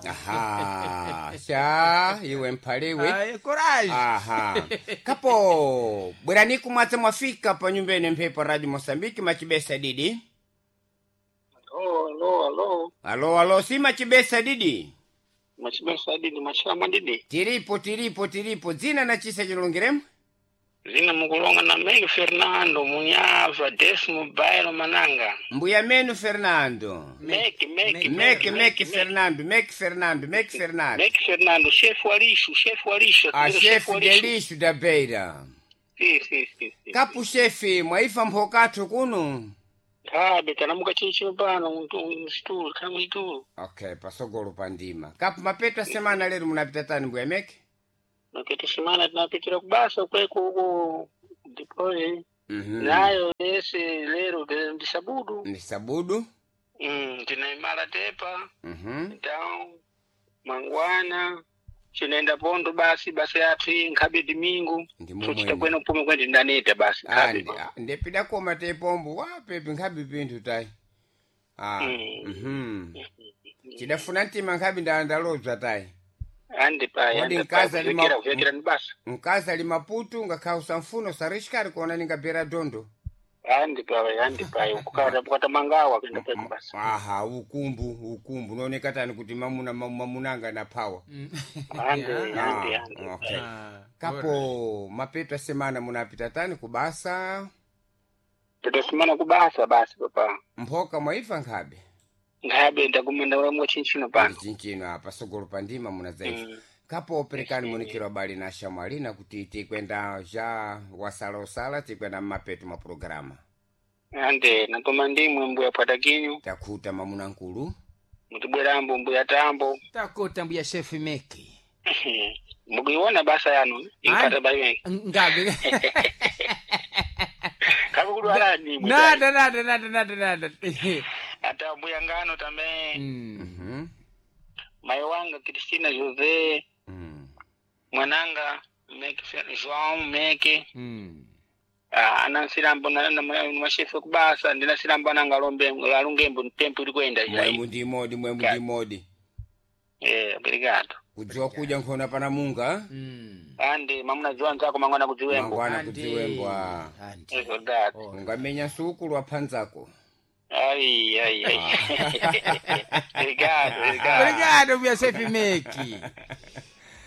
Aha, sha iwe mphaliwe. Ayi, courage. Aha, kapo bwerani kumwadza mwafika pa nyumba ine mphepo Radio Mosambiki machibesa didi. Alo, alo, alo. Alo, alo, si machibesa didi. Machibesa didi, machilama didi. Tiripo, tiripo, tiripo. Dzina na chisa chilungiremu? Zina mukulonga na Meki Fernando Munyava Desmo Bairo Mananga. Mbuya menu Fernando. Meki, Meki, Meki, Meki Fernando, Meki Fernando, Meki Fernando. Meki Fernando, chefe wa lixo, chefe wa lixo. A chefe chefe wa de lixo. lixo da beira. Sim, sim, sim, sim. Kapu chefe, mwaifa mphokathu kuno. Kabe, tanamuka chinchino pano, msitulu, kana msitulu. Okay, pasogolo pandima. Kapu mapeto a semana lero munapita tani mbuya Meki? Mapeto semana tinapitira kubasa kweko huko depois. Mhm. Nayo ese lero ndi sabudu. Ni sabudu. Tinaimala tepa. Mhm. Então, mangwana chinaenda pondo basi basi yathu iyi nkhabe dimingu Ndi sochita mumwene. kwene upume kwene ndaneta basi Ah, nkhabe ndipida koma tepombo wapepi nkhabe pinthu tayi. Ah. Mm. Mhm. Chidafuna mtima nkhabe ndalobza tayi. andi payi Kodi andi payi mkazi alima- kuvekera kuvekera ni basa Mkazi ali maputu ngakhala usamfuna usarishikari kuona ningabera dondo. andi payi andi payi ukukata kukata mangawa kuenda payi kubasa Aha, ukumbu, ukumbu. Unaoneka tani kuti mamuna mamunanga na power. andi andi Ah, andi okay. Ah, Kapo mapeto a semana munapita tani kubasa tutasimana kubasa basi papa mphoka mwaifa nkhabe. nkhabe ndakumenda ulamwa chinchino pano Chinchino apa sogolo pandima munadzaifa. Mm. Kapo operekani munikiro abali na shamwalina kuti tikwenda ja wasala usala tikwenda mmapeto mwa programa. andi natoma ndimwe mbuya pwatakinyu Takhuta mamuna nkulu. mutibwerambo mbuya tambo Takota mbuya chefe Meki. mukuiona basa yanu inkata bayi Ngabe. kabe kudwala nimwe Nada, nada, nada, nada, nada. ata mbuya ngano tambe Mm. Mhm. mai wanga Cristina José Mm. mwananga Meke João Meke Mm. ah, anansilambo mashefe kubasa ndinasilambo ananga alombe alungembo ntempo uli kwenda Mwemu ndi modi, mwemu ndi modi. eh obrigado Kudziwa kudya nkhona pana munga. Mm. andi mamuna dziwa nzako mangwana kudziwembo Mangwana Andi. kudziwembwa. Andi. É verdade Oh. Ungamenya suku lwaphanzako. ai ai ai obrigado obrigado Obrigado, mbuya chefe Meki.